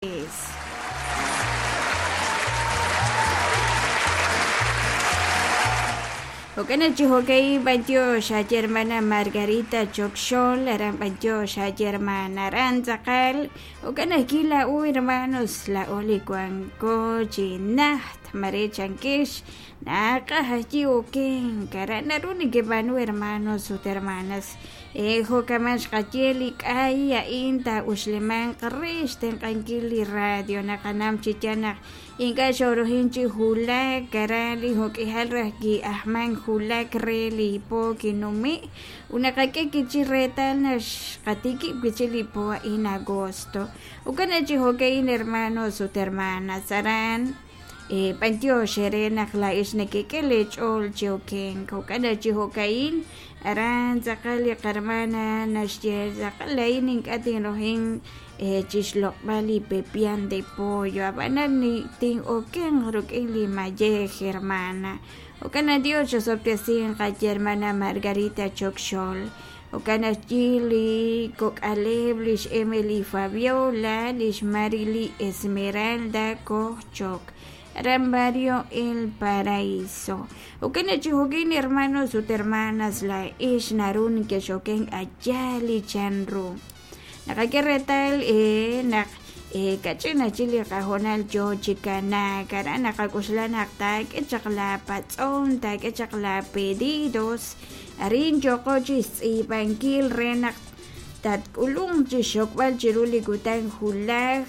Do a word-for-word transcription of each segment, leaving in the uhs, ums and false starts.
Jo'kan chi jo'ka'in b'antiox xaye hermana Margarita Chokxol aran b'antiox xaye hermana aran tz'aqal jo'kan ajwi' laa'o hermanos laa'o li wanko chi najt mare chankex naqaj ajwi' okenk aran naru nekeb'aanu hermanos ut hermanas e jo'kaman xqaye li k'ay a'in taa'uxlimanq re xtenq'ankil li radio naqanam chi yaal naq ink'a' xorujin chi wulak aran li jo'k'ihal raj ki'ajman wulak re li po kinumi' ut naqak'e kichi reetal naq xqatikib' wi'chik li po a'in agosto jo'kan chi jo'ka'in hermanos ut hermanas aran b'antiox eere naq laa'ex nekek'e leech'ool chi okenk jo'kan chi jo'ka'in aran tz'aqal li qarmana naxye tz'aqal laa'in ink'a' tinrujin chixloq'b'al li pepian de pollo ab'anan tin'okenq rik'in li mayej hermana jo'kan Dios xosob'tesinq qaye hermana Margarita Chokxol jo'kan ajwi' li kok'aleb' lix Emily Fabiola lix Marily Esmeralda Kojchok aran barrio El Paraíso jo'kan chi jo'kin hermanos ut hermanas laa'ex naru nekex'oken aya' li chanru naqak'e reetal naq kach'in ajwi' li qahoonal yoo chi kanaak aran naqak'oxla naq taak'e chaq la patz'om taak'e chaq la pedidos arin yooqo chi xtz'iib'ankil re naq tatk'ulunq chi xokb'al chiru li kutan wulaj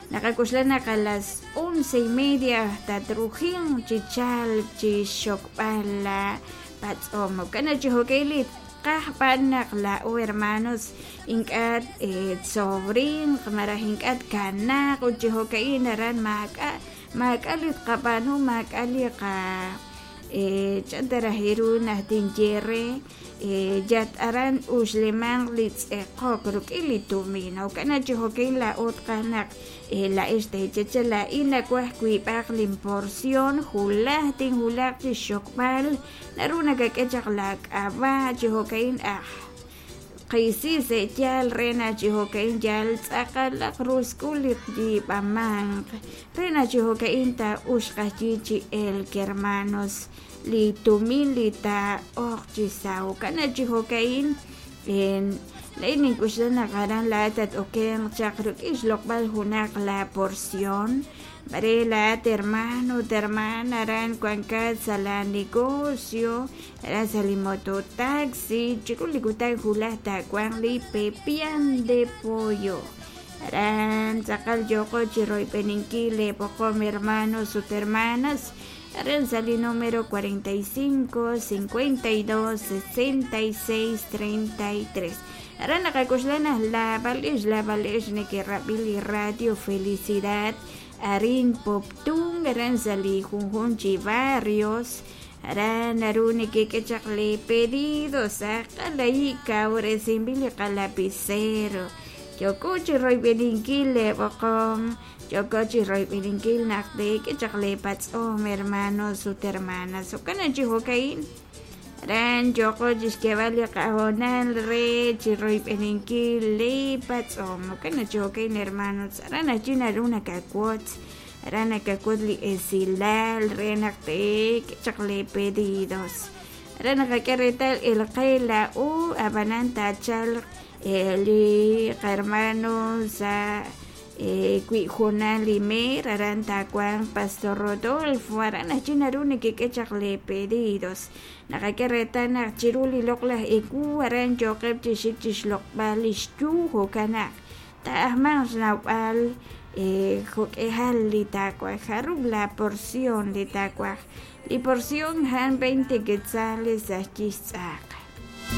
naqak'oxla naq a las once y media tatrujinq chi chalk chi xokb'al la patz'om jo'kan chi jo'ka'in li qaj b'an naq laa'o hermanos ink'a' tsobrinq malaj ink'a' tkanaaq ut chi jo'ka'in aran maak'a' maak'a' li tqab'aanu maak'a' li qa chan ta raj ru naq tinye re yat aran uxlimanq li tz'eqok rik'in li tumin jo'kan chi jo'ka'in laa'o tqaj naq laa'ex teecheche laa'in nawaj wiib'aq linporción wulaj tinwulaq chi xokb'al naru nakak'e chaq laak'ab'a' chi jo'ka'in aj qisi se'yaal re naq chi jo'ka'in yal tz'aqalaq rusk'ul li yiib'amanq re naq chi jo'ka'in taa'uxq ajwi' chi elk hermanos li tumin li taa'oq chi sa' jo'kan chi jo'ka'in laa'in nink'oxla naq aran laa'at tat-okenq chaq rik'in xloq'b'al junaq la porción mare laa'at hermano ut hermana aran wankat sa' la negocio aran sa' li mototaxi chiru li kutan wulaj taawanq li pepian de pollo aran tz'aqal yooqo chi royb'eninkil leeb'oqom hermanos ut hermanas aran sa' li número cuarenta y cinco, cincuenta y dos, sesenta y seis, treinta y tres aran naqak'oxla naq laab'al'ex laab'al'ex neke'rab'i li radio Felicidad arin Poptún aran sa' li junjun chi barrios aran naru nekek'e chaq li pedidos aqal ahi kawresinb'il li qalapicero yoko chi royb'eninkil leeb'oqom yoko chi royb'eninkil naq teek'e chaq leepatz'om hermanos ut hermanas jo'kan chi jo'ka'in aran yoko chi xk'eeb'al li qahoonal re chi royb'eninkil leepatz'om jo'kan chi jo'ka'in hermanos aran ajwi' naru nakawotz aran nakawotz li esilal re naq teek'e chaq leepedidos aran naqak'e reetal el qe laa'o ab'anan taachalq li qarmano sa' wi' junal li meer aran taawanq Pastor Rodolfo aran ajwi' naru nekek'e chaq leepedidos naqak'e reetal naq chiru li loq'laj ewu aran yooqeb' chi xik chi xloq'b'al li xyu jo'kan naq taa'ajmanq xnawb'al jo'k'ihal li taawaj jarub' la porción li taawaj li porción jan veinte quetzales ajwi' xtz'aq